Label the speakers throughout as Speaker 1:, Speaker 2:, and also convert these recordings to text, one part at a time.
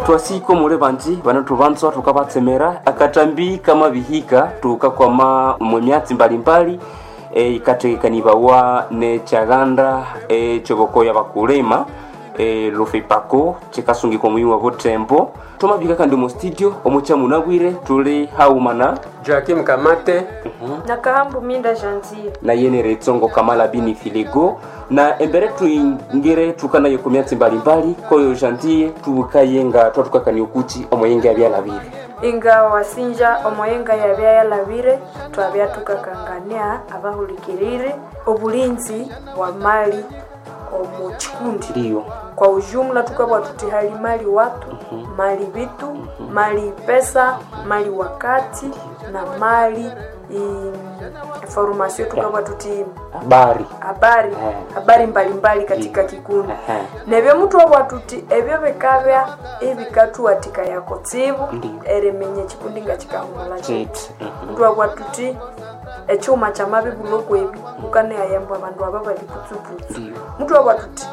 Speaker 1: Twasiko muli banji banathubanzwa thukabatsemera akatambi kamabihika tukakwama mu myatsi mbalimbali ikathekanibawa nekyaganda ekyobokoya bakulima lufipako kikasungikwa omuyi wa butembo. Twamabihika kandi omu studio omukyamunabwire tuli haumana
Speaker 2: Joakim Kamate.
Speaker 3: Nakahambu Minda Janvier.
Speaker 1: Naye Retsongo Kamala Bini Filigo na embere tuingire tukanaye ku myatsi mbalimbali koyo jantie tubukaye nga twatukakania okuki omoyenge abyalabire.
Speaker 3: Inga wasinja omoyenga yabya yalabire, twabya tukakangania abahulikirire obulinzi bwa mali omu kikundi.
Speaker 1: Ndiyo.
Speaker 3: Kwa ujumla tukabwa tuti hali mali watu, mali vitu, mali pesa, mali wakati na mali information, tukabwa tuti
Speaker 1: habari
Speaker 3: habari habari mbalimbali katika kikundi. Nebyo muthu wabwa tuti ebyo bikabya ebikathuwathika yakotsibu eriminya ekikundi nga kikahumula
Speaker 1: kiti.
Speaker 3: Muthu wabwa tuti ekyuma kyamabibulha okwebi ukanayayamba abandu aba bali putsuputsu. Muthu wabwa tuti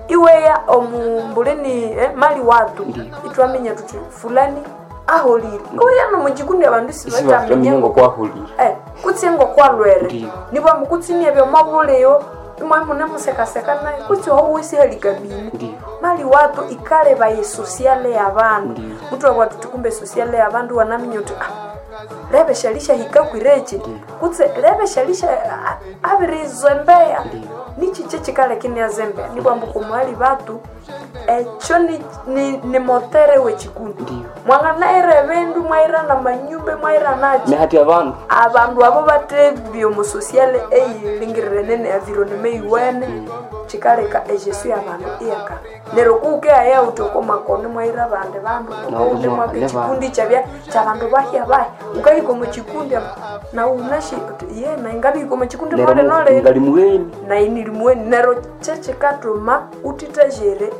Speaker 3: iweya omumbulini mali watu itwaminya tuti fulani aholire oya nomukikundi abandu sibataminya
Speaker 1: ngokwahulire
Speaker 3: kutse ngokwalwere nibwa mukutsi ebyo mwabuleyo imwe mune musekaseka naye kutse owesihalikabini. Mali watu ikaleba yesosiale yabandu. Muthu wabwa tuti kumbe sosiale yabandu wanaminya uti lebe shalisha hikakwirechi kutse lebe shalisha abirizembeya nichiche chikalekine azembeya nibwambu kumwali batu ekyo ni motere wekikundi. Mwanganaira ebindu mwairana manyumba mwairanachi
Speaker 1: nehati abandu
Speaker 3: abandu abo batebya omusosiale eyilingirire nene environment iwene chikaleka ejesu yabandu iyaka neryo kukeaya uti okomakoni mwaira bandi bandu okounde mwaka ekikundi kyabya kyabandu bahya bahya ukahika omu kikundi na unashi ye naingabihika omu kikundi nole nole
Speaker 1: ngali muweni
Speaker 3: nainilimuweni neryo kyekikatuma utitejere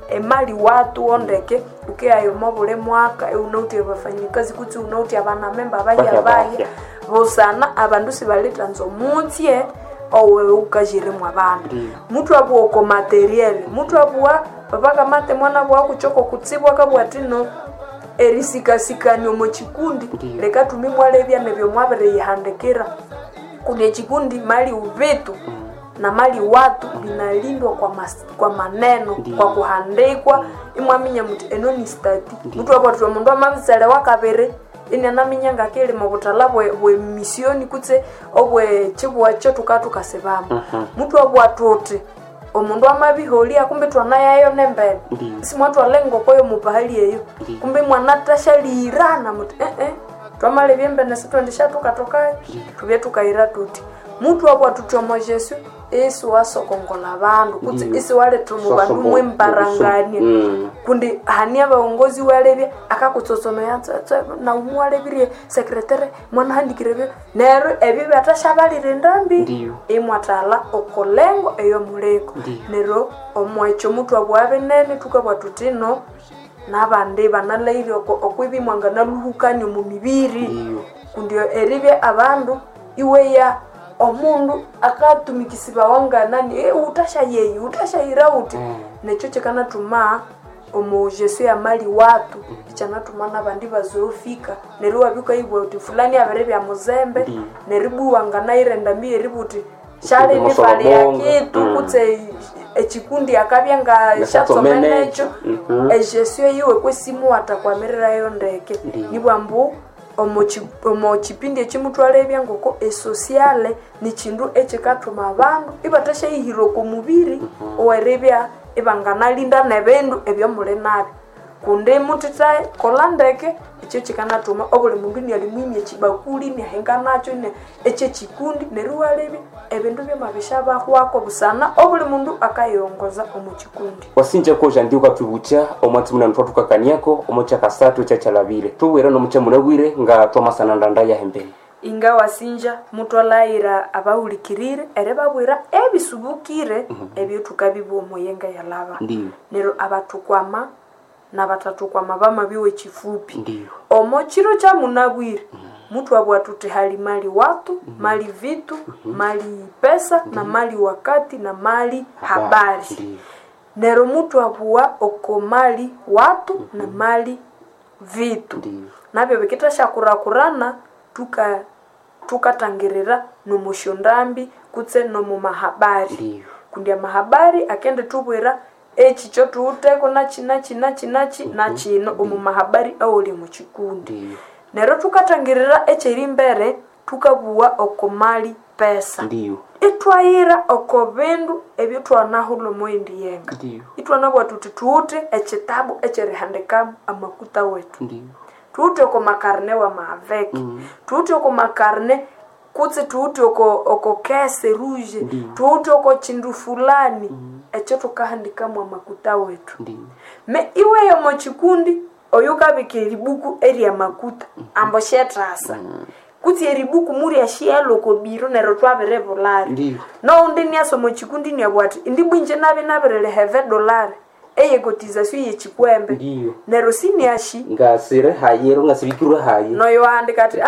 Speaker 3: emali watu ondeke ukeayo mobule mwaka unauti abafanyikazi kutsi unauti abanamemba bahya bahya busana abandu sibalitanza omutsye owewe ukajiremwa abandu. Muthu abuwa oko materiel, muthu abuwa papakamate mwana bwa kuchoko kutsibwa kabwa tino erisikasikania omu kikundi leka tumi mwalebya nebyo mwabiriyihandikira kundi ekikundi mali ubitu na mali watu binalindwa kwa maneno. Kwa kuhandikwa imwaminya muti eno ni stati. Muthu akwatira omundu amabisalewa kabiri inanaminya ngakilima obuthala bwe misioni kutse obwe chibwacho tukatukasibamu. Muthu abwatha uti omundu amabiholya kumbe twanayayo nembene simwatwala engoko yomupahali eyo kumbe mwanatashalirana muti twamalebya embene sitwendishatukatokayo tubye tukayira tuti. Muthu abwathuthi omo Jesu isi wasokongola abandu kutse isi waletha omu bandu mwembarangania kundi hani abaongozi walebya akakutsotsomea naumu walebirie sekretere mwanahandikire byo neryo ebyo byatashabalira endambi imwathala okolengo eyomuliko. Neryo omwekyo muthu abwa binene thukabwa thuthi no nabandi banalhaire okwibi mwanganaluhukania omu mibiri kundi eribya abandu iweya omundu akatumikisibawa nganani utasha yeyi utashayira uti nekyo kikanathuma omu Jesu ya mali watu ikyanathuma nabandi bazofika neryo iwabya ukayibugha uthi fulani abiribya muzembe neryo ibwa iwanganayira endambi yeribugha uthi syali nifali ya kitu kutse ekikundi akabya nga syatsomenekyo ejesu eyiwe kwesimu watakwamirirayo ndeke. Nibwa mbu omo kipindi ekimutwalebya ngoko esosiale nikindu ekikathuma abandu ibathasyayihira oko mubiri oweribya ibanganalinda nebindu ebyomuli nabyo kundi muthithaye kola ndeke ekyo kikanathuma obuli mundu iniali mwimya ekibakuli iniahinga nakyo ekyekikundi neryo iwalebya ebindu byamabishabahwako busana obuli mundu akayiongoza omu kikundi.
Speaker 1: Wasinja koja ndi ukatubukya omwatsi munano twathukakaniako omukyakasathu kyakyalabire tubwire nomukyamunabwire nga twamasana ndanda yahembene.
Speaker 3: Inga wasinja mutwalayira abahulikirire eribabwira ebisubukire ebyo thukabibugha omuyenga yalaba. Neryo abathukwama nabatathukwama bamabiwa ekifupi omo kiro kyamunabwire muthu abugha thuthi hali mali watu, mali vitu, mali pesa na mali wakati na mali habari. Neryo mutwabugha oko mali watu na mali vitu.
Speaker 1: Ndiyo.
Speaker 3: Nabyo bikithashyakurakurana tukatangirira nomusyondambi kutse nomumahabari.
Speaker 1: Ndiyo.
Speaker 3: Kundi amahabari akendithubwira eki kyothuwitheko nachi nachi nachi nachi nakino omu mahabari awali omu kikundi.
Speaker 1: Ndiyo.
Speaker 3: Neryo thukatangirira ekyerimbere thukabugha oko mali pesa.
Speaker 1: Ndiyo.
Speaker 3: Ithwayira oko bindu ebyothwanahulha omughindi yenga.
Speaker 1: Ndiyo.
Speaker 3: Ithwanabugha thuthi thuwithe ekyitabu ekyerihandikamu amakuta wethu.
Speaker 1: Ndiyo.
Speaker 3: Thuwithe oko makarine wamaveke, thuwithe oko makarine kutse thuwithe oko kese rouge,
Speaker 1: Ndiyo.
Speaker 3: thuwithe oko kindu fulani ekyo thukahandikamu amakuta wethu.
Speaker 1: Ndiyo.
Speaker 3: Me iweya omo kikundi oyo ukabika eribuku eryamakuta ambo syethasa kutse eribuku muryashighela oko biro neryo thwabiribulhayo.
Speaker 1: Ndiyo.
Speaker 3: Nowundi iniasa omo kikundi iniabugha athi indi bwa inje nabya nabiriliha evedolari eyekotizasyo yekikwembe.
Speaker 1: Ndiyo.
Speaker 3: Neryo siniashi
Speaker 1: Ngasire hayero ngasibikirwe hayi.
Speaker 3: noyo wahandika athi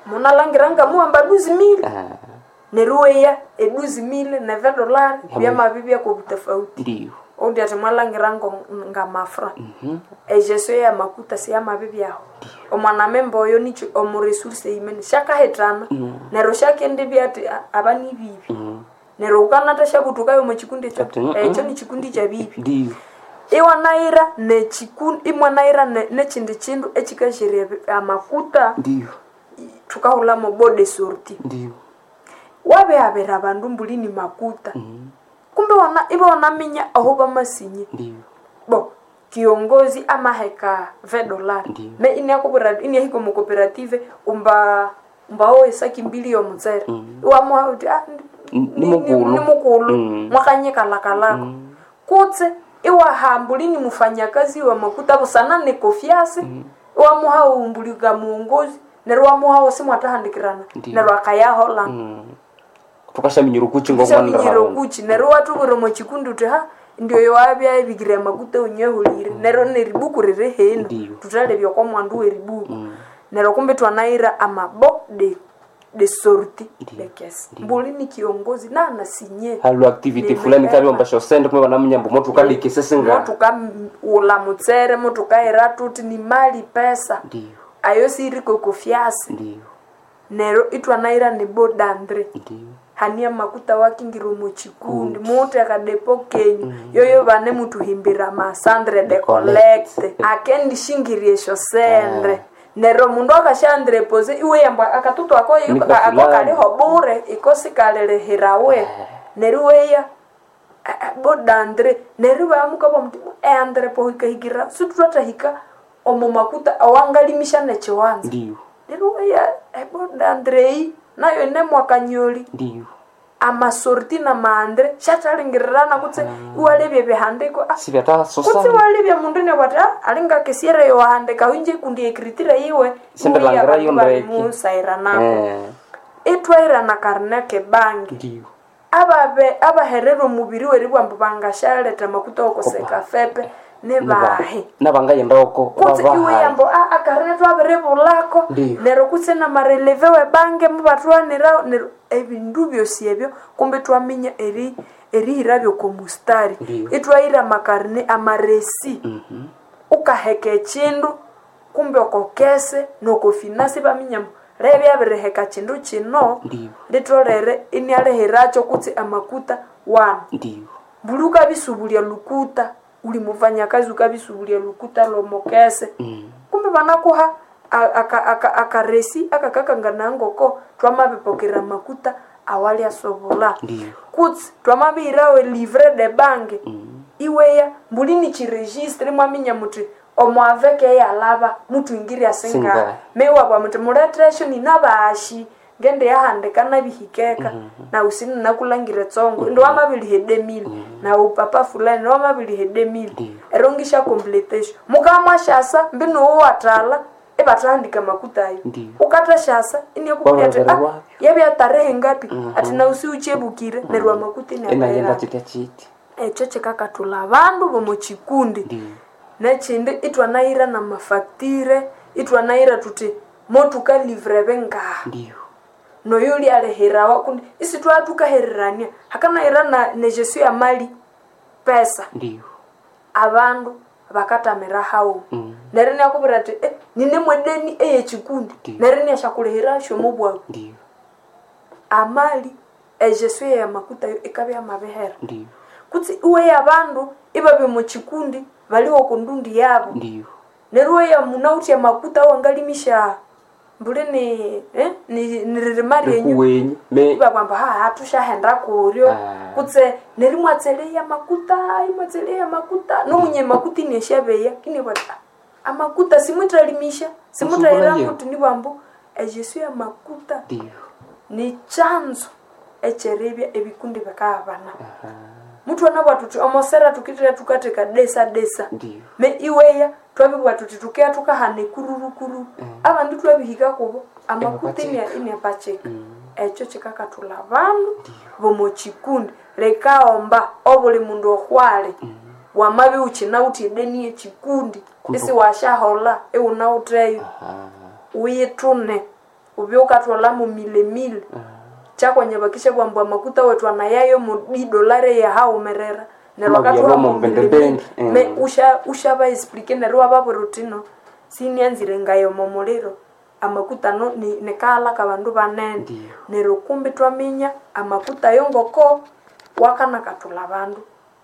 Speaker 3: munalangira ngamuhamba duzi mili.
Speaker 1: Ah,
Speaker 3: Neryo iweya eduzi mili nevedolari byamabibya kobutafauti.
Speaker 1: Ndiyo.
Speaker 3: Oundi athi mwalangira ngamafra. Egestion yamakuta siyamabibyaho. Omwanamemba oyo nikyo omu resource eyimene syakahithana neryo syakendibya athi aba nibibi. Neryo wukanathasyabuthukayo omo kikundi ekyo
Speaker 1: Ati,
Speaker 3: ekyo nikikundi kyabibi.
Speaker 1: Ndiyo.
Speaker 3: Iwanayira nekikundi imwanayira nekyindi kindu ekyikasherya amakuta
Speaker 1: Ndiyo.
Speaker 3: thukahulhamu bode sorti.
Speaker 1: Ndiyo.
Speaker 3: Wabihabira abandu mbuli ni makuta. Kumbe ibawanaminya aho bamasinye.
Speaker 1: Ndiyo.
Speaker 3: Bo kiongozi amaheka vedolari.
Speaker 1: Ndiyo.
Speaker 3: Me iniakubwira iniahika omu cooperative umba umbawo esaki mbili yomutsere. Iwamuha uthi
Speaker 1: Ni mukulu.
Speaker 3: ni mukulu mwakanyikalakalako. Kutse iwaha mbuli ni mufanyakazi wa makuta busana ni kofiasi. Iwamuha umbuli ka muongozi neryo iwamuhawo simwathahandikirana
Speaker 1: Ndiyo.
Speaker 3: neryo akayahola.
Speaker 1: Thukashaminyira okuchi
Speaker 3: Shaminyira
Speaker 1: ngomwanira.
Speaker 3: okuchi neryo iwathubwira omo kikundi uthi ha ndioyo wabya ebikire amakuta wunyehulire neryo neribuku riri hino
Speaker 1: Ndiyo.
Speaker 3: thuthalebya okwa mwandu weribuku. Neryo kumbe thwanayira amabo de sorti de kesi. Mbuli ni kiongozi nanasinye.
Speaker 1: Halo activity fulani kabyomba syosente kumbe banaminya mbu mothukabika esinga.
Speaker 3: Motukaghulha mutsere motukahira thuthi ni mali pesa.
Speaker 1: Ndiyo.
Speaker 3: Ayo siriko kofyasi.
Speaker 1: Ndiyo.
Speaker 3: Neryo ithwanayira ni bodandre.
Speaker 1: Ndiyo.
Speaker 3: Hania makuta wakingira omu kikundi muwithe akadepo kenyu yoyo bane muthuhimbira amasandre de collecte akendishingirya esyosente. Neryo omundu akasyandirepose iweyamba akatutu ako
Speaker 1: Nika
Speaker 3: ako
Speaker 1: fulani.
Speaker 3: kaliho bure iko sikalilihirawe. Neryo iweya bodandre neryo ibamukabugha muthi eandrepo hikahikira sithwathahika omo makuta awangalimisya nekyiwanza.
Speaker 1: Ndiyo.
Speaker 3: Neryo iweya ebodandre eyi nayo yinemwakanyoli.
Speaker 1: Ndiyo.
Speaker 3: Amasorti namaandre syathalingirirana kutse iwalebya ebihandiko
Speaker 1: Sibyathasosa.
Speaker 3: kutse iwalebya mundu inabugha athi alinga kesiere yowahandika inje kundi ekritire yiwe
Speaker 1: Sindilangirayo ndeke.
Speaker 3: musairanako.
Speaker 1: Eh.
Speaker 3: Ithwahira nakarine kebangi.
Speaker 1: Ndiyo.
Speaker 3: Ababe abaherera omubiri weribugha ambu bangasyaletha amakuta wokoseka fepe nibahi.
Speaker 1: Nabangayenda oko
Speaker 3: Kutse iweyambo akarine thwabiribulhako
Speaker 1: Ndiyo.
Speaker 3: neryo kutse namareleve webange mubathwanirawo neryo ebindu byosi ebyo kumbe ithwaminya erihirabyo oko mustari.
Speaker 1: Ndiyo.
Speaker 3: Ithwahira amakarine amaresi. Ukaheka ekindu kumbe oko kese noko finance ibaminya ambu lebya abiriheka kindu kino
Speaker 1: Ndiyo.
Speaker 3: litholere inialihiracyo kutse amakuta wanu.
Speaker 1: Ndiyo.
Speaker 3: Mbuli ukabisubulya lukuta uli mufanyakazi ukabisubulya lukuta lomokese. Kumbe banakuha akaresi akakakangana ngoko thwamabipokera amakuta awalyasobolha.
Speaker 1: Ndiyo.
Speaker 3: Kutse thwamabihirawo elivre de bank iweya mbuli nikyiregistre imwaminya muthi omwaveke eyalhaba muthwingirya singahi.
Speaker 1: Singahi.
Speaker 3: Mewa muthi mulethesyo ninabashi ngendiyahandika nabihikeka nawu sininakulhangira etsongo indi wamabiliha edemili nawu papa fulani wamabiliha edemili
Speaker 1: Ndiyo.
Speaker 3: ero ngisyacompletesyo mukamwasyasa mbinu owathalha ibathahandika amakuta ayo.
Speaker 1: Ndiyo.
Speaker 3: Ukathashasa iniakubwira athi
Speaker 1: Wabirebererwabyo.
Speaker 3: yabya tarehe ngapi athi nawu siwukyebukire neryo amakuta
Speaker 1: Inayenda
Speaker 3: inayaghenda.
Speaker 1: chitya chiti.
Speaker 3: Ekyo kyikakathulha abandu bomo kikundi.
Speaker 1: Ndiyo.
Speaker 3: Nekyindi ithwanayira namafactire ithwanayira thuthi motukalivre bingaha.
Speaker 1: Ndiyo.
Speaker 3: Noyo ulyalihirawa kundi isithwathukahererania hakanayira negestion ya mali pesa.
Speaker 1: Ndiyo.
Speaker 3: Abandu bakatamira hawo. Neryo inakubwira ati nine mwedeni eyekikundi. Neryo inasyakulihira syomubwabu.
Speaker 1: Ndiyo.
Speaker 3: Amali ejesu ya makuta yo ikabya mabihera.
Speaker 1: Ndiyo.
Speaker 3: Kutsi iwe yabandu ibabya mukikundi baliwo kundundi yabo.
Speaker 1: Ndiyo.
Speaker 3: Neryo iwe yamunawutya amakuta wangalimisha mbuli ni niririma ryenyu.
Speaker 1: Rikuwenyu. Me
Speaker 3: Ibabwamba haha tushahenda kuryo.
Speaker 1: Ah.
Speaker 3: Kutse neryo mwatseleya makuta, imwatseleya makuta. Nomunye makuta ineshabeya kini bata. Amakuta simutalimisha, simutahira
Speaker 1: Musumbula
Speaker 3: muti nibambu ejesu ya makuta.
Speaker 1: Ndiyo.
Speaker 3: Ni chanzo echeribya ebikundi bikabana. Muthu anabwa tuti omosera tukitira tukateka desa desa.
Speaker 1: Ndiyo.
Speaker 3: Me iweya twabibwa tuti tukeya tukahana ekururukuru. Abandu twabihika kubo amakuta inepachika. Ekyo kikakathula abandu bomukikundi. Lekaomba obuli mundu okhwale. Wamabya ukinawuthe edeni yekikundi isi wasyaholha iwunawutheyo. Uyithune ubye wukathwalhamu milemile. Kyakwanya bakishabugha ambu amakuta wethu anayayo mu idolari yahaghumerera. Neryo
Speaker 1: Mabya
Speaker 3: bakathwalhamu
Speaker 1: lomo mbendembende.
Speaker 3: milemile. Me ushaba explique neryo iwababwira uthi no sinianzire ngayo omuliro. Amakuta ano nikaghalha kabandu banene.
Speaker 1: Ndiyo.
Speaker 3: Neryo kumbi twaminya amakuta ayo ngoko wakanakathulha abandu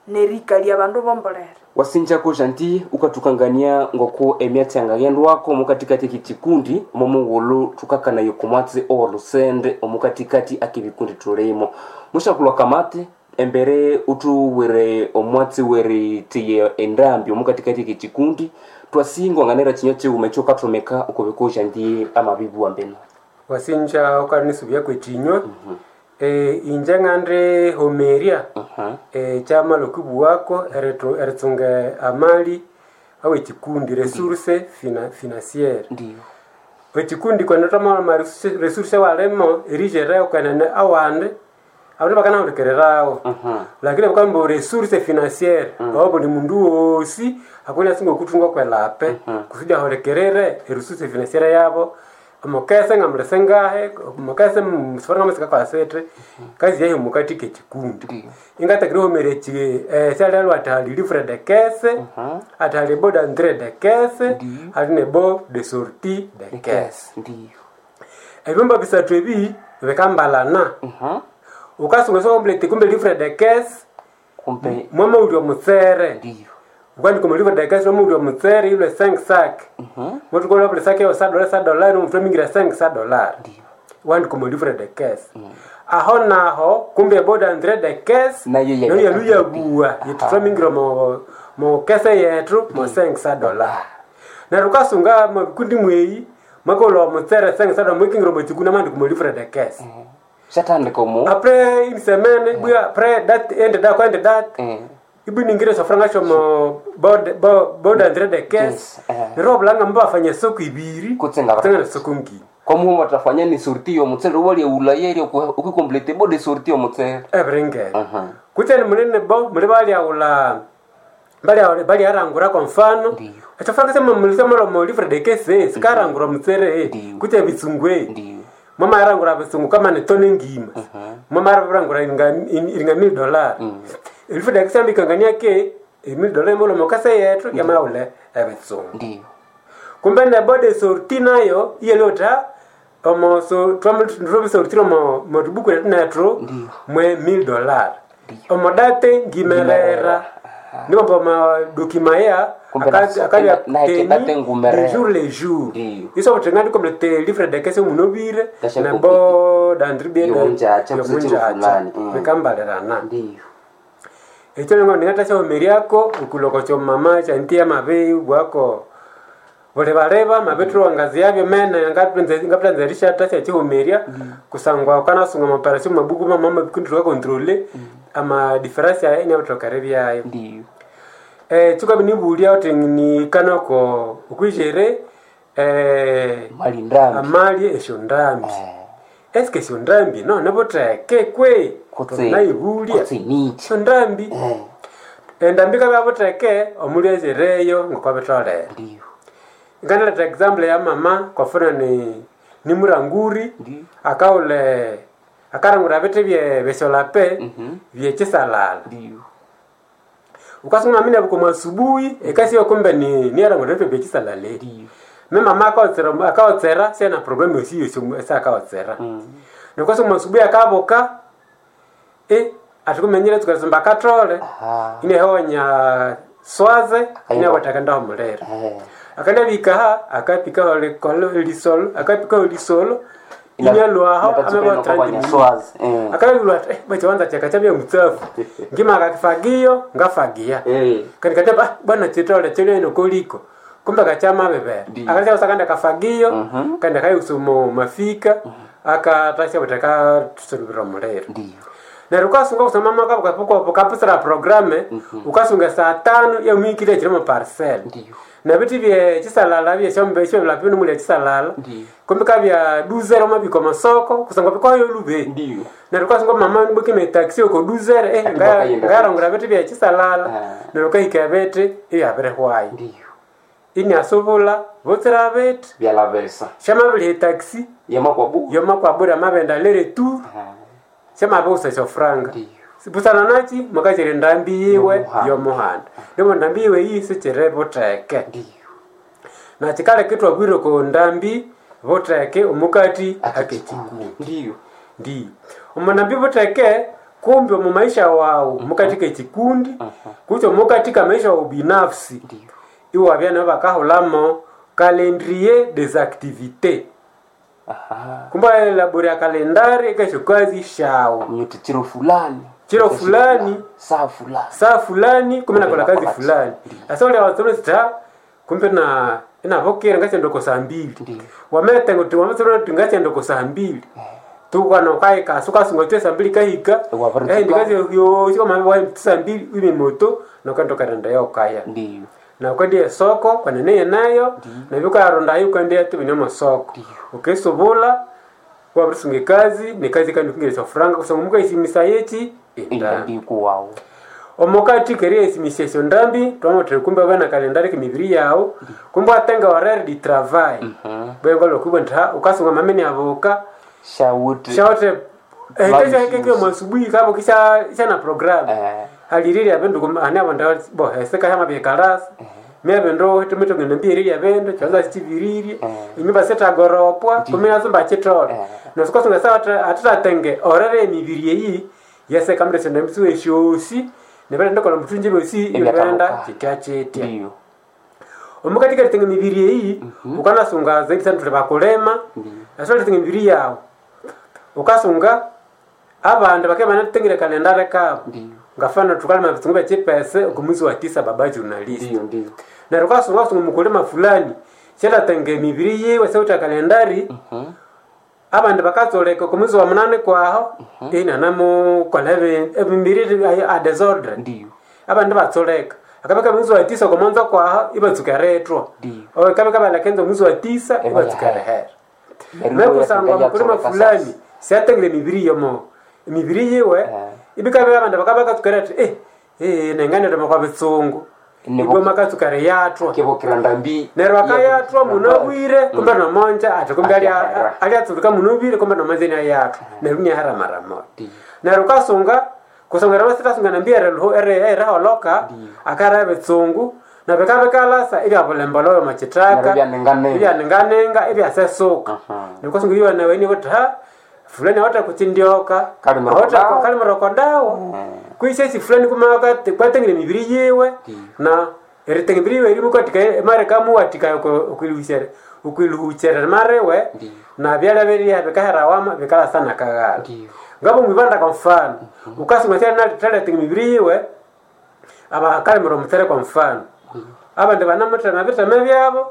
Speaker 3: nerikalya abandu bombolere.
Speaker 1: Wasinjako janti ukathukangania ngoko emyatsi yangaghendwako omukatikati ekikikundi omomughulhu thukakanaya okumwatsi owolusende omukatikati akebikundi thulimo. Mushakulwa kamate embere uthuwire omwatsi weritiya endambi omukatikati ekikikundi twasingwanganira kinywa kighuma ekyokathomeka okubiko janti amabibuwa mbeno.
Speaker 2: Wasinja ukanisubya kwekinywa. Inje ngandi homerya kyamala okwibuwako eritsunga amali awekikundi resource financiere.
Speaker 1: Ndiyo.
Speaker 2: Ekikundi kwene twamala resource walimo erijereo kwenene awandi abandu bakanahulikirirawo. Lakini bakamba resource financiere obo buli mundu wosi akoni asinga okuthunga kwelape kusudi ahulikirire eresource financiere yabo. Omukese ngamulese ngahe, omukese musifora ngamasika kwasete, kazi yahi mukati kekikundi. Ingatakire homere syalelwa ati hali livre de caisse, ati hali bo d'entrée de caisse, hali ne bo de sortie de caisse.
Speaker 1: Ndiyo.
Speaker 2: Ebyumba bisathu ebi bikambalana. Ukasunga sokomplete kumbe livre de caisse,
Speaker 1: Kumbe
Speaker 2: mwamaulya omutsere.
Speaker 1: ndiyo.
Speaker 2: Ukandika omu livre de caisse mwamaulya omutsere ilwe 5 sac. Mwathukolha buli sac eyo sa dollar sa dollar nomuthu amingira 5 sa dollar.
Speaker 1: Ndiyo.
Speaker 2: Wandika omu livre de caisse. Aho naho kumbe bo d'entrée de caisse
Speaker 1: Nayo
Speaker 2: nayo yaluyabuwa yithi twamingira mo kese yethu mo 5 sa dollar. Neryo ukasunga mabikundi mweyi mwakolha omutsere 5 sa dollar mwikingira omu kikundi amandika omu livre de caisse.
Speaker 1: Shatandika omu
Speaker 2: Après une semaine, bwa après date end date kwa end date. Ibiningire sofranga shomo bod bod d'entrée de caisse.
Speaker 1: Yes,
Speaker 2: Neryo obulanga mbafanya soko ibiri.
Speaker 1: Kutsenga
Speaker 2: Kutsenga soko ngini.
Speaker 1: Kwamuhu watafanya ni sortie yomutsere walya ulayeri ukikomplete bo de sortie yomutsere.
Speaker 2: Ebiringere. Kutse munene bo muli balyaghulha balyarangura kwa mfano.
Speaker 1: Ndiyo.
Speaker 2: Ekyofranga sema mo livre de caisse sikarangura omutsere.
Speaker 1: Ndiyo.
Speaker 2: Kutse ebitsungu.
Speaker 1: Ndiyo.
Speaker 2: Mama yarangura abasungu kama ni tone ngima. Mama yarangura iringa $1,000. Livre de caisse ambikangania ke $1,000 imolo mokase yethu yamaghule ebitsungu.
Speaker 1: Ndiyo.
Speaker 2: Kumbe ne bode sorti nayo iyelota omo so twamisortire omo motubuku yetu nethu mwe $1,000. Omo date ngimerera. Nibo ma dokima ya
Speaker 1: Kumbe na date ngumerera.
Speaker 2: jour le jour.
Speaker 1: Ndiyo.
Speaker 2: Iso butenga ndikomplete livre de caisse munobire
Speaker 1: Kasha
Speaker 2: na bo d'entrée
Speaker 1: Yomunjacha, kusechero fulani.
Speaker 2: bikambalirana.
Speaker 1: Ndiyo.
Speaker 2: Ekyo nengo ningatashomeriako okuloko kyomama kyanti amabeyi bwako bulibaleba mabethu wangazi yabyo mene ngaptanza erishata syakihumirya kusangwa ukanasunga amaparasi mabuku mama mabikundi tukakontrole ama difference yayo inabitokere byayo.
Speaker 1: Ndiyo.
Speaker 2: Kikabi nibulya uthi nikanako okwijere
Speaker 1: Mali ndambi.
Speaker 2: amali esyondambi. Eske esyondambi none butheke kwe
Speaker 1: Kutse.
Speaker 2: nayibulya
Speaker 1: Kutse nichi.
Speaker 2: esyondambi endambi ikabya butheke omuli ezireyo ngokwabitholere.
Speaker 1: Ndiyo.
Speaker 2: Nganaleta example ya mama kwafuna ni muranguri
Speaker 1: Ndiyo.
Speaker 2: akaule akarangura bithi bye besyolape byekisalala.
Speaker 1: Ndiyo.
Speaker 2: Ukasunga mama inabuka mwasubuhi ekasi yo kumbe ni niarango bechisalala
Speaker 1: Ndiyo.
Speaker 2: me mama akaotsera akaotsera sena problem yosi yosi esa akaotsera. Nokasunga mwasubuhi akaboka atikumenyire tukasomba katrole.
Speaker 1: Aha.
Speaker 2: Inehonya swaze inawataka mulera. Akandabikaha akapikaho lisolo akapikaho lisolo inyalwaho
Speaker 1: Swazi.
Speaker 2: Akalulwa bachiwanza chakachabya mutsafu ngima akakifagio ngafagia. Kandi kateba bwana chitole chile nokoliko kumbe kachama bebera.
Speaker 1: Ndiyo.
Speaker 2: Akacha usakanda kafagio kandi akayusumo mafika akatasha butaka tusulubira mulero.
Speaker 1: Ndiyo.
Speaker 2: Neryo ukasunga kusoma maka ukapusira programe ukasunga saa tano yamwikile chilimo parcel.
Speaker 1: Ndiyo.
Speaker 2: Na biti bye chisalala bye shombe shombe lapino muli chisalala.
Speaker 1: Ndiyo.
Speaker 2: Kumbe kabya duzero mabiko masoko kusanga bikoyo lube.
Speaker 1: Ndiyo.
Speaker 2: Neryo ukasunga mama nibuke me taxi uko duzero
Speaker 1: Ati bakayenda.
Speaker 2: ngarangura biti bye chisalala.
Speaker 1: Ah.
Speaker 2: Neryo ukahika biti iyabirehwayo.
Speaker 1: Ndiyo.
Speaker 2: Ini asubula botsera biti
Speaker 1: Byalavesa.
Speaker 2: shama bili taxi
Speaker 1: Yamakwabu.
Speaker 2: yoma kwabura mabenda lere tu shama bosa shofranga.
Speaker 1: Ndiyo.
Speaker 2: Sipusana nachi makachiri ndambi yiwe
Speaker 1: Yomuhanda.
Speaker 2: yomuhanda ndimo ndambi yiwe iyi sichire buteke.
Speaker 1: Ndiyo.
Speaker 2: Na chikale kitwa bwire ko ndambi buteke omukati akechikuu.
Speaker 1: Ndiyo.
Speaker 2: Ndi omunambi buteke kumbe omu maisha wawu mukati kechikundi kucho mukati ka maisha wawu binafsi.
Speaker 1: Ndiyo.
Speaker 2: Iwabya nabo bakahulamo calendrier des activités.
Speaker 1: Aha.
Speaker 2: Kumba elabori ya kalendari kesho kazi shawo
Speaker 1: Mnyuti chiro fulani.
Speaker 2: Chiro fulani.
Speaker 1: Saa fulani.
Speaker 2: Saa fulani kumbe nakola kazi
Speaker 1: Nakola
Speaker 2: fulani.
Speaker 1: Ndiyo.
Speaker 2: Asa ule wasome sita kumbe na inavokera ngachendo saa mbili.
Speaker 1: Ndiyo.
Speaker 2: Wamete kuti wamesema kuti ngachendo saa mbili tukwana ukaika sukasunga twe saa mbili kahika.
Speaker 1: Wavari
Speaker 2: ndikazi yo siko mama wa saa mbili ime moto nokando karenda yo kaya.
Speaker 1: Ndiyo.
Speaker 2: Na ukendiye soko kwanene nayo na vyukaronda yo ukendiye tubine masoko ukisubula wabirisunga ekazi nekazi kandi ukingeresa franga kusanga mukaisimisa yechi endambi.
Speaker 1: Indambi kuwawo.
Speaker 2: Omukati keria esimisa esyo ndambi twamotere kumbe bana kalendari kemibiri yawu kumbe watenga horaire di travail bwengo lokubwa nti ha ukasunga mamene abuka.
Speaker 1: Shawuti.
Speaker 2: Shawote
Speaker 1: Lunch
Speaker 2: kesho keke mwasubuhi kabo kisha isha na program. Haliriri abendu ane abandu bo heseka hama byekalasa mie bindu tumitongene mbiriri abindu chanza chiviriri inyumba sitagoropwa kumina zimba chitole. Nosikosunga sawa atitatenge orere emibiri eyi yeseka mndu senda msiwe shosi nebere ndokola mutunji bosi
Speaker 1: Ebyatabuka.
Speaker 2: ibenda chitya chitya.
Speaker 1: Ndiyo.
Speaker 2: Omukatika litenga emibiri eyi ukanasunga zaidi sana tuli bakulema asobola litenga emibiri yawu ukasunga abandu bakeba banatengire kalendari kabo.
Speaker 1: Ndiyo.
Speaker 2: Ngafana tukalima bitungu bya chipese okumwezi wa 9 baba journalist.
Speaker 1: Ndiyo, ndiyo.
Speaker 2: Neryo ukasunga kusunga mukulima fulani syatatenge emibiri yiwe seuta kalendari. Abandu bakatsoleka okumwezi wa 8 kwaho inanamukola emibiri a desordre.
Speaker 1: Ndiyo.
Speaker 2: Abandu batsoleka akabeka mwezi wa 9 okomonza kwaho ibatsuka retwa.
Speaker 1: Ndiyo.
Speaker 2: Akabeka balakenza mwezi wa 9 ibatsuka rehera. Mekusangwa mukulima fulani syatengire emibiri yomo emibiri yiwe ibikabya abandu bakabakatsukira ati nenganirima kwa bitsungu.
Speaker 1: Nebo-
Speaker 2: Ibwe makatsukira yathwa.
Speaker 1: Kebokera ndambi.
Speaker 2: Neryo akayathwa munobwire kumbe nomonja ati kumbe
Speaker 1: Akahera.
Speaker 2: alyatsuruka munobwire kumbe nomonja inyayathwa neryo inyahera mara moja.
Speaker 1: Ndiyo.
Speaker 2: Neryo ukasunga kusonga rasitasungana nambi eriholoka akara ebitsungu na bikabikalasa ibyabulemba loyo machitaka.
Speaker 1: Neryo ibyanenganenga.
Speaker 2: Ibyanenganenga ibyasesuka. Nikusunga iwe nawe ni kuti ha fulani awata kuchindioka
Speaker 1: Kali
Speaker 2: kali murokodawo kuisesi fulani kumaka kwatengire mibiri yiwe na eritenga mibiri yiwe irimu kwatika mare kamuwatika ukwiluhuchere ukwiluhuchere marewe
Speaker 1: Ndiyo.
Speaker 2: na byala biriya bikaherawama bikalasana kaghala.
Speaker 1: Ndiyo.
Speaker 2: Ngabo mwibanda kwa mfano ukasunga tena taletenga mibiri yiwe abakalimira omutsere kwa mfano abandu banamutema bitema byabo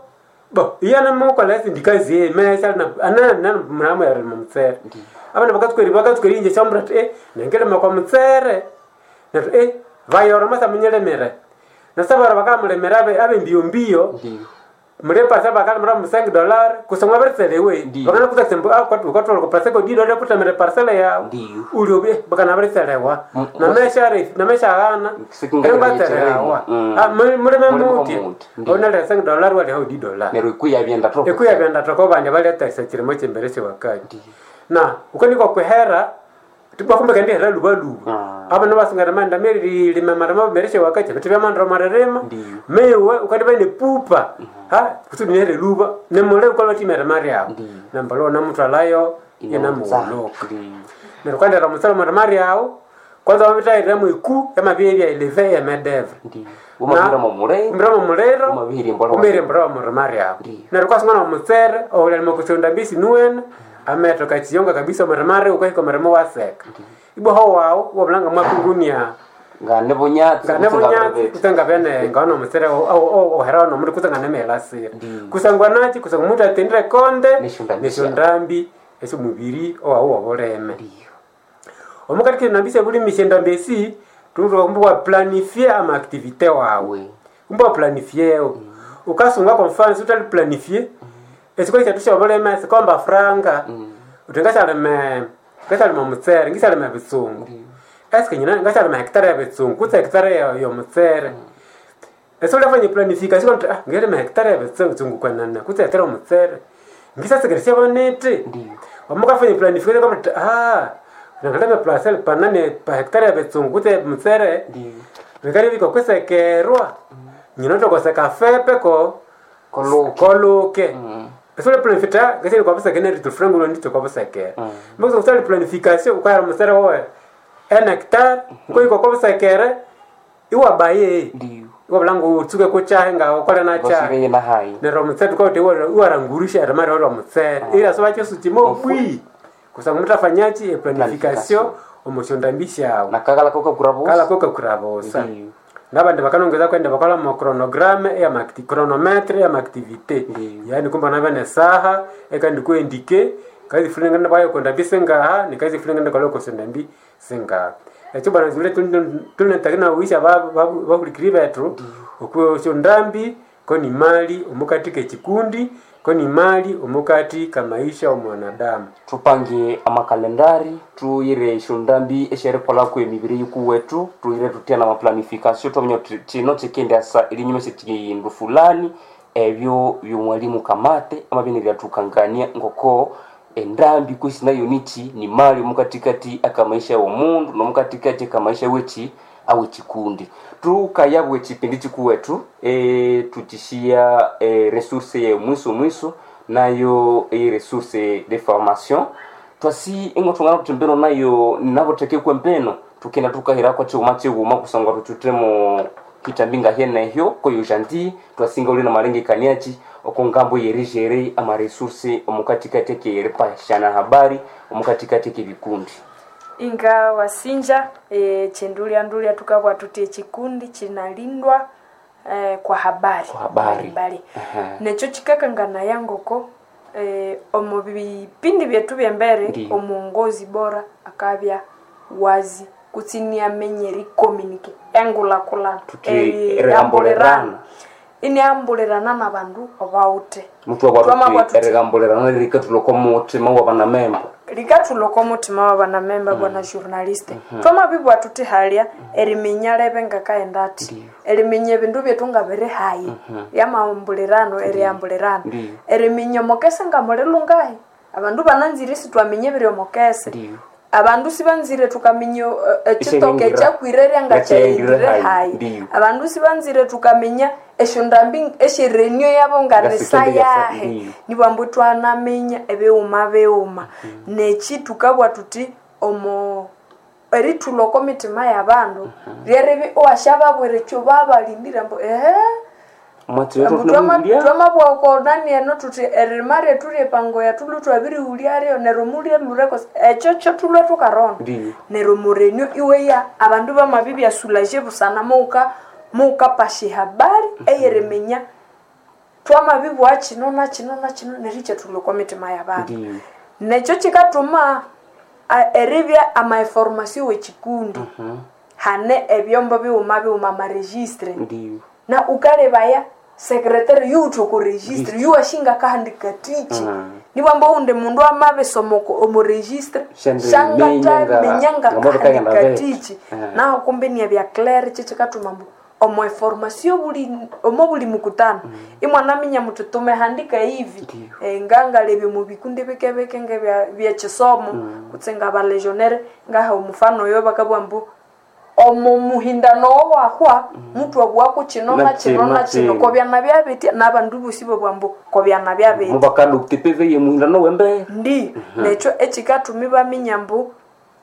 Speaker 2: bo iya namukola esindikazi ye mesa na mulamu yarima mutsere. Abandu bakatsuka inje syamura ati nengilima kwa mutsere neryo vayora masa munyilimire nasabara bakamulimira abe mbio mbio.
Speaker 1: Ndiyo.
Speaker 2: Mulepasa bakalimira mu $5 kusangwa baritserewe.
Speaker 1: Ndiyo.
Speaker 2: Bakana kuta sembo kwatu kwatu ko parcel ko dido kutamira parcel ya
Speaker 1: Ndiyo.
Speaker 2: ulio bakana baritserewa namesha refu namesha ghana
Speaker 1: Sikinga
Speaker 2: batserewa. Mulime
Speaker 1: Mulime
Speaker 2: muti
Speaker 1: muti. Ndiyo.
Speaker 2: onale $5 wali hau $.
Speaker 1: Neryo ikuya byenda toko.
Speaker 2: Ekuya byenda toko bandi baleta chirimo chimbere chiwakati na uko niko kwehera. Tibwa kumbe kandi hera lubaluba. Abana basungana manda meri lima marama mereshe wakati bitu byamandro marerema.
Speaker 1: Ndiyo.
Speaker 2: Mewe ukati bane pupa. Ha kusudi nere luba nemole ukalwa timera mari awo.
Speaker 1: Ndiyo.
Speaker 2: Nambalo namutwalayo inamuloka.
Speaker 1: Ndiyo.
Speaker 2: Neryo kwandera omutsele omuri awo kwanza wabitairira mwiku yamabya eleve yemedeve.
Speaker 1: Ndiyo. Wamabihira momuliro.
Speaker 2: Umbira momuliro.
Speaker 1: Wamabihira embola.
Speaker 2: Umbira embola omuri awo.
Speaker 1: Ndiyo.
Speaker 2: Neryo kwasungana omutsere oulelima kusonda mbisi nuwene ametho kachiyonga kabisa omuri ukahika omurimo waseka. Ibwa ho wawo wabulanga mwakungunia
Speaker 1: Ngane bunyatsi.
Speaker 2: ngane bunyatsi kutsenga bene ngaona omutsere ohera nomuri kutsenga nemelasira.
Speaker 1: Ndiyo.
Speaker 2: Kusangwa nachi kusangwa omuntu atendire konde
Speaker 1: Neshondambi
Speaker 2: neshondambi esyomubiri owawu wobuleme.
Speaker 1: Ndiyo.
Speaker 2: Omukati kinambisa bulimisha endambi esi tundu kumbe waplanifie ama activité wawe. Kumbe waplanifieyo. Ukasunga kwa mfano si utali planifie. Esiko kyathu syobuleme sikomba franga. Uthi ngashalime ngashalima omutsere ngishalima ebitsungu. Eske nyina ngashalima hectare ya bitsungu kutse hectare ya yomutsere. Ese ulafanya planification kuti ah ngelima hectare ya bitsungu kwanana kutse hectare omutsere. Ngisasekeresya bonete.
Speaker 1: Ndiyo.
Speaker 2: Wamukafanya planification kwamba ah nangalime parcel panane pa hectare ya bitsungu kutse mutsere.
Speaker 1: Ndiyo.
Speaker 2: Vikali biko kwisekerwa. Nyina tokoseka fepe ko
Speaker 1: Koluke.
Speaker 2: koluke. Ese planifita ngasili kwa busekene ritufrengulo ndito kwa busekere. Mbuzo kusali planification ukayara mutsere wowe. En hectare nko kwa busekere iwa baye.
Speaker 1: Ndiyo.
Speaker 2: Iwa blangu utsuke kuchahe nga ukole na chahe.
Speaker 1: Basireye na hayi.
Speaker 2: Nero mutsere tukauti iwarangurisha erimari ora mutsere. Ila soba chesu chimo bwi. Kusanga mutafanyachi e planification omushondambisha awo.
Speaker 1: Nakakala koka kurabusa.
Speaker 2: Kala koka kurabosa.
Speaker 1: Ndiyo.
Speaker 2: Nabandi bakanongeza kwenda bakola mo chronogramme ya macti chronometre ya activité.
Speaker 1: Ndiyo.
Speaker 2: Yaani kumba nabe ne saha ekandi kuendike kazi fulani ngenda bayo konda bisengaha ni kazi fulani ngenda kaloko senda mbi sengaha. Ekyo bana zule tunatakina uisha babulikiri bethu okwo ndambi ko ni mali omukati kekikundi ko ni mali omukati kamaisha omwanadamu.
Speaker 1: Tupange amakalendari tuyire eshondambi esherikolaku emibiri yikuwetu tuyire tutya na maplanification twamanya uti kino kikendasa erinyuma syekindu fulani ebyo byomwalimu kamate amabya nibyathukangania ngoko endambi kwisi nayo nichi ni mali omukatikati akamaisha womundu nomukatikati akamaisha wechi awekikundi tukayabwa ekipindi kikuwetu tukishiya resource ye mwiso mwiso nayo e resource de formation twasi ingo tungana kuti mbeno nayo navotekekwe mbeno tukenda tukahira kwa chiuma chiuma kusangwa tuchutemo kitambi ngahenehyo koyo janti twasinga uli na malengekaniachi oko ngambo yerijere ama resource omukatikati keripashana habari omukatikati kebikundi
Speaker 3: Inga wasinja chendulya ndulya tukabwa tuti echikundi chinalindwa kwa habari
Speaker 1: Kwa habari.
Speaker 3: mbalimbali.
Speaker 1: Aha.
Speaker 3: Necho chikakangana yangoko omu bipindi byetu byembere
Speaker 1: Ndiyo.
Speaker 3: omuongozi bora akabya wazi kutsi niamenye ericommunicate engulakulana
Speaker 1: Tuti erihambulerana.
Speaker 3: iniambulerana na bandu obawuthe
Speaker 1: mutu wakwatuti erihambulerana lirikatuloko mutima wabanamemba
Speaker 3: likathuloko omutima wa banamemba bwana journaliste twamabibwa tuthi halya eriminya lebe ngakaenda athi eriminya ebindu byethu ngabiri hayi lyamambulirano erihambulirana
Speaker 1: Ndiyo.
Speaker 3: eriminya omukese ngamulilungahi abandu bananzire isitwaminya ebiri omukese
Speaker 1: Ndiyo.
Speaker 3: abandu sibanzire tukaminya ekitoke
Speaker 1: Esyahingira.
Speaker 3: ekyakwire
Speaker 1: Ngakyahingire
Speaker 3: ngakyahingira
Speaker 1: hayi.
Speaker 3: hayi
Speaker 1: Ndiyo.
Speaker 3: abandu sibanzire tukaminya esyondambi esyerenio yabo nganisa
Speaker 1: Ngasikende yasa-
Speaker 3: yahe
Speaker 1: Ndiyo.
Speaker 3: nibwambu twanaminya ebighuma bighuma neki tukabwa tuthi omo erithulha oko mitima yabandu lyeribi iwasyababwira ekyo babalindire ambu ehe ambu twamabwa oko nani eno tuthi eririma ryethu ryepango yathu twabirighulya neryo mulyelhureko ekyo kyo thulwe thukaronda
Speaker 1: Ndiyo.
Speaker 3: neryo murenio iweya abandu bamabibya sulaje busana muuka muukapasha ehabari eyeriminya twamabibwa kino na kino na kino neryo ikyethulha okwa mitima yabandu
Speaker 1: Ndiyo.
Speaker 3: nekyo kikatuma eribya amainformasio wekikundi hane ebyombo bighuma bighuma amaregistre
Speaker 1: Ndiyo.
Speaker 3: na ukalebaya sekretary yuwuthe oko registre yuwashinga kahandika tichi nibwamba undi mundu amabisoma omu registre
Speaker 1: Shandiminya
Speaker 3: shangataminya
Speaker 1: nga-
Speaker 3: ngakahandika
Speaker 1: nga
Speaker 3: tichi
Speaker 1: Eh.
Speaker 3: naho kumbe niebya claire kyo kikatuma mbu Omo information buli omo buli mukutano imwanaminya muti tumehandika hivi. Ngangalebye mu bikundi bikebeke ngebya byekisomo kutse ngabalegionnaire ngaha omufano oyo bakabugha mbu omo muhindano owahwa mutu abwako kino na kino na kino kobyana byabitya n'abandu bosi babugha mbu kobyana byabitya
Speaker 1: mubakadopte pv ye muhindano wembe
Speaker 3: ndi nekyo ekikatuma ibaminya mbu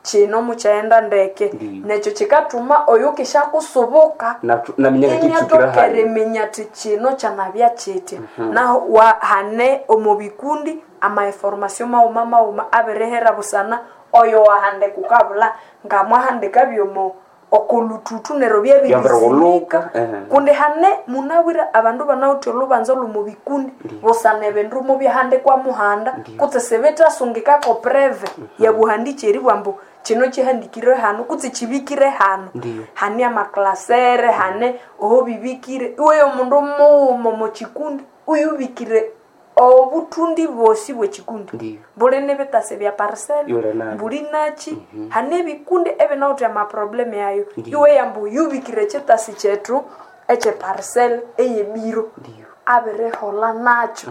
Speaker 3: kino mukyaghenda ndeke.
Speaker 1: Ndiyo.
Speaker 3: Nekyo kikatuma oyo kishakusubuka
Speaker 1: naminya ngakitsukira
Speaker 3: inyatokere
Speaker 1: hayi
Speaker 3: minya ti kino kyanabya kitya. Naho hane omu bikundi amainformation maghuma maghuma abirihera busana oyo wahandika ukabulha ngamwahandika byomo okolututu neryo
Speaker 1: Byabirighuluka,
Speaker 3: byabirisimika.
Speaker 1: ehe.
Speaker 3: Kundi hane munabwire abandu banawithe olhubanza olwomu bikundi busana ebindu mubyahandikwa muhanda kutse sibithasungikako preve yabuhandiki eribugha mbu kino kihandikire hano kutse kibikire hano.
Speaker 1: Ndiyo.
Speaker 3: Hane amaklasere hane oho bibikire iwe omundu mughuma omo kikundi uyubikire obutundi bwosi bwekikundi.
Speaker 1: Ndiyo.
Speaker 3: Buli nibitasi bya parcel
Speaker 1: Yule nabyo.
Speaker 3: buli nachi hane ebikundi ebinawithe amaproblemu yayo.
Speaker 1: Ndiyo.
Speaker 3: Iwe yambu yubikire ekyitasi kyethu ekyeparcel eyebiro.
Speaker 1: Ndiyo.
Speaker 3: Abiriholha nakyo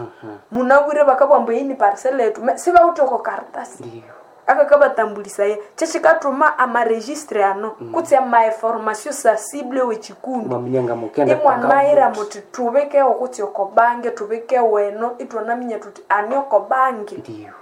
Speaker 3: munabwire bakabugha ambu eyi ni parcel yethu sibawithe oko karatasi
Speaker 1: Ndiyo.
Speaker 3: akakabatambulisaya kyekikathuma amaregistre ano kutse amainformation sensible wekikundi
Speaker 1: mwaminya ngamukenda
Speaker 3: imwanayira muti tubikewo kutse okobange tubikewo eno itwanaminya tuti ani okobange.
Speaker 1: Ndiyo.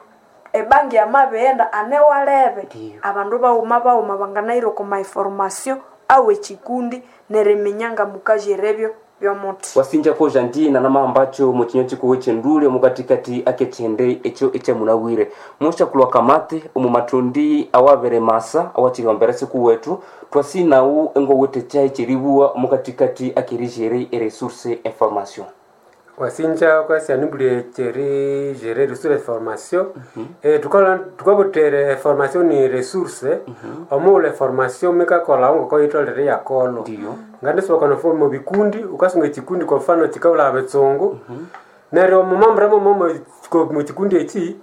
Speaker 3: Ebange yamabighenda ane walebe.
Speaker 1: Ndiyo.
Speaker 3: Abandu baghuma baghuma banganayira oko mainformation awekikundi neriminya ngamukajerebyo byomuthi.
Speaker 1: Wasinja koja ndina namambacho muchinyo chikuwe chendule mukatikati akechende echo echemunabwire mushakulwa kamate omu matundi awabere masa awachihambera siku wetu twasinawu engowete chai chiribuwa mukatikati akerijere eresource information.
Speaker 2: Wasinja kwasianibule cheri gérer ressource formation. Tukola tukabutere formation ni ressource omuule formation mikakola ngoko itolere yakolo.
Speaker 1: Ndiyo.
Speaker 2: Ngandisibakana fo mu bikundi ukasunga ekikundi kwa mfano chikaula abetsungu neryo mumambura momo mu kikundi eki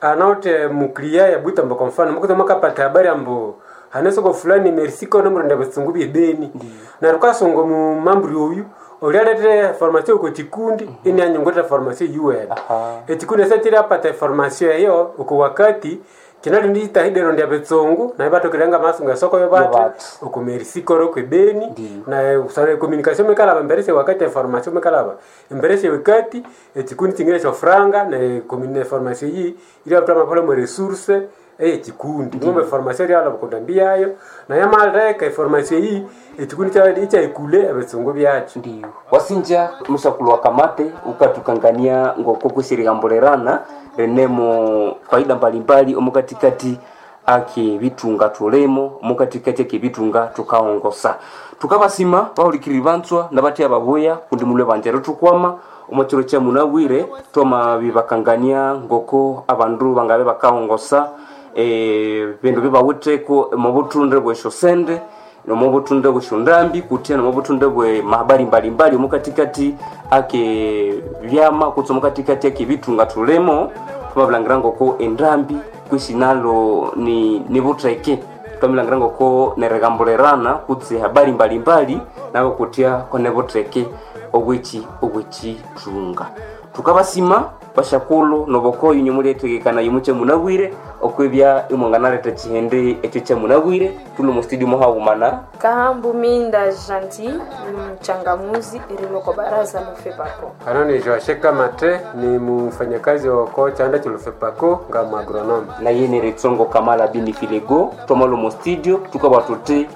Speaker 2: anaute muklia ya butambo kwa mfano mukuza makapata habari ambu hane soko fulani merisiko nomurunda betsungu byebeni neryo ukasunga mu mamburi oyu olyalete formation ko kikundi ini anyongolera formation yuwene.
Speaker 1: Aha.
Speaker 2: Ekikundi ese kirapata formation eyo uku wakati kinali nditahidero ndya betsungu naye batokerenga masunga soko yobate
Speaker 1: Yobate.
Speaker 2: okumerisikoro kwebeni.
Speaker 1: Ndiyo.
Speaker 2: Na usare communication mekalaba emberese wakati information mekalaba emberese wakati ekikundi kingine kyo franga na commune formation yi iri abutama pole mu resource ekikundi ngombe formation iri alaba kundambiyayo na yamaleka information yi ekikundi kya ikyayikule ebitsungu byakyo.
Speaker 1: Ndiyo. Wasinja mushakulwa kamate ukatukangania ngoko kusirihambulerana renemo faida mbalimbali omukatikati ake bitunga tulemo omukatikati ake bitunga tukaongosa tukabasima bahulikiriri bantswa nabatya babuya kundi mulwe banjero tukwama omwachiro kya munabwire twamabibakangania ngoko abandu bangabe bakaongosa bindu bibawitheko mubuthunde bwesyo sende nomubuthunde bwesyo ndambi kutya nomubuthunde bwe mahabari mbalimbali omukatikati ake byama kutse omukatikati ake bitunga tulemo twamabilangira ngoko endambi kwisi nalo ni butheke twamilangira ngoko nerigambulerana kutse habari mbalimbali nabo kutya kone butheke obweki obwekithunga tukabasima bashakulu nobokoyo inye muletegekana yimuche munabwire okwebya imwanganaletha chihende ekyo kyamunabwire tuli mu studio muhawumana
Speaker 4: Kahambu Minda Gentil, mchangamuzi eriloko baraza lofepako.
Speaker 2: Ano ni Joashe Kamate ni mfanyakazi wa chanda chilufepako nga mwagronomi.
Speaker 1: na yene ritsongo kamala bini filego twamalo mu studio tukaba tuti.